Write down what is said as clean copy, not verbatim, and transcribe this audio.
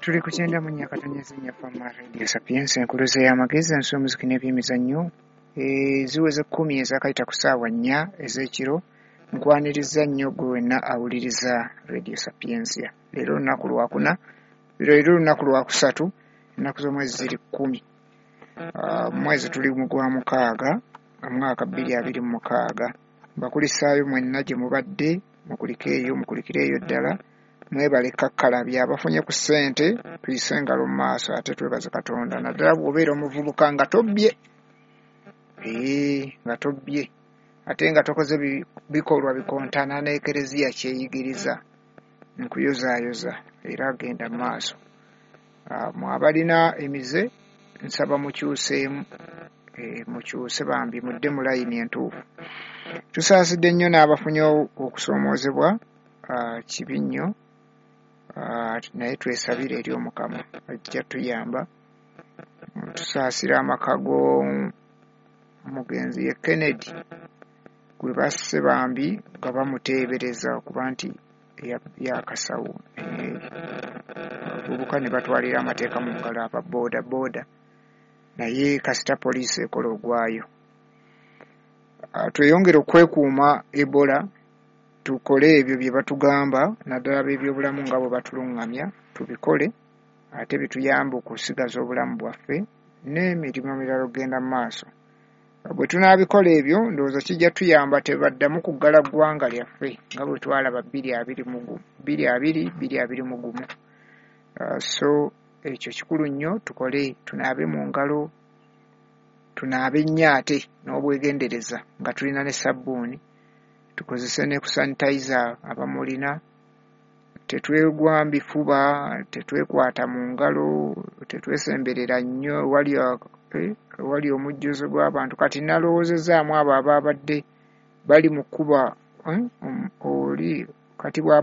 Tuli ku 94.4 Fama Radio Sapientia, enkuluze y'amagezi, ensi, omuziki n'ebyemizannyo. Ziweze 10 ezakayita ku ssaawa 4 ez'ekiro. Nkwaniriza nnyo gwe wenna awuliriza Radio Sapientia. Leero lunaku lwakuna, leero lunaku lwakusatu, ennaku z'omwezi ziri 10. Mwezi tuli mu gwa 6, omwaka 2026. Mbakulisaayo mwenna gye mubadde, mukulike eyo, mukulikireeyo ddala. Mwebale kakkalabya abafunye ku ssente, tuyise engalo mu maaso ate twebaze Katonda, naddala bw'obeera omuvubuka nga tobbye, nga tobbye ate nga tokoze bikolwa bikontana n'ekereziya kyeyigiriza. Nkuyozaayoza era genda mu maaso. Mwe abalina emize nsaba mukyuseemu, mukyuse bambi, mudde mu layini entuufu. Tusaasidde nnyo n'abafunye okusoomoozebwa, kibi nnyo, naye twesabire eri Omukama ajja tuyamba. Tusaasira amaka g'omugenzi ye Kennedy gwe basse bambi nga bamuteebereza okuba nti yakasawo, abavubuka ne batwalira amateeka mu ngalo aba booda booda, naye kasita poliisi ekola ogwayo. Tweyongere okwekuuma Ebola, tukole ebyo bye batugamba, naddala ab'ebyobulamu nga bwe batulungamya, tubikole ate bituyambe okusigaza obulamu bwaffe n'emirimu emirala okugenda mu maaso. Bwe tunaabikola ebyo, ndowooza kijja tuyamba tebaddamu kuggala ggwanga lyaffe nga bwe twalaba 2020, 2021. So ekyo kikulu nnyo, tukole, tunaabe mu ngalo, tunaabe nnyo ate n'obwegendereza nga tulina ne sabbuuni, tukozese ne ku sanitizer abamulina, tetwegwa bifuba, tetwekwata mu ngalo, tetwesemberera nnyo wali omujjuzo gw'abantu. Kati nalowoozezaamu abo ababadde bali mu kkuba, oli kati bw'aba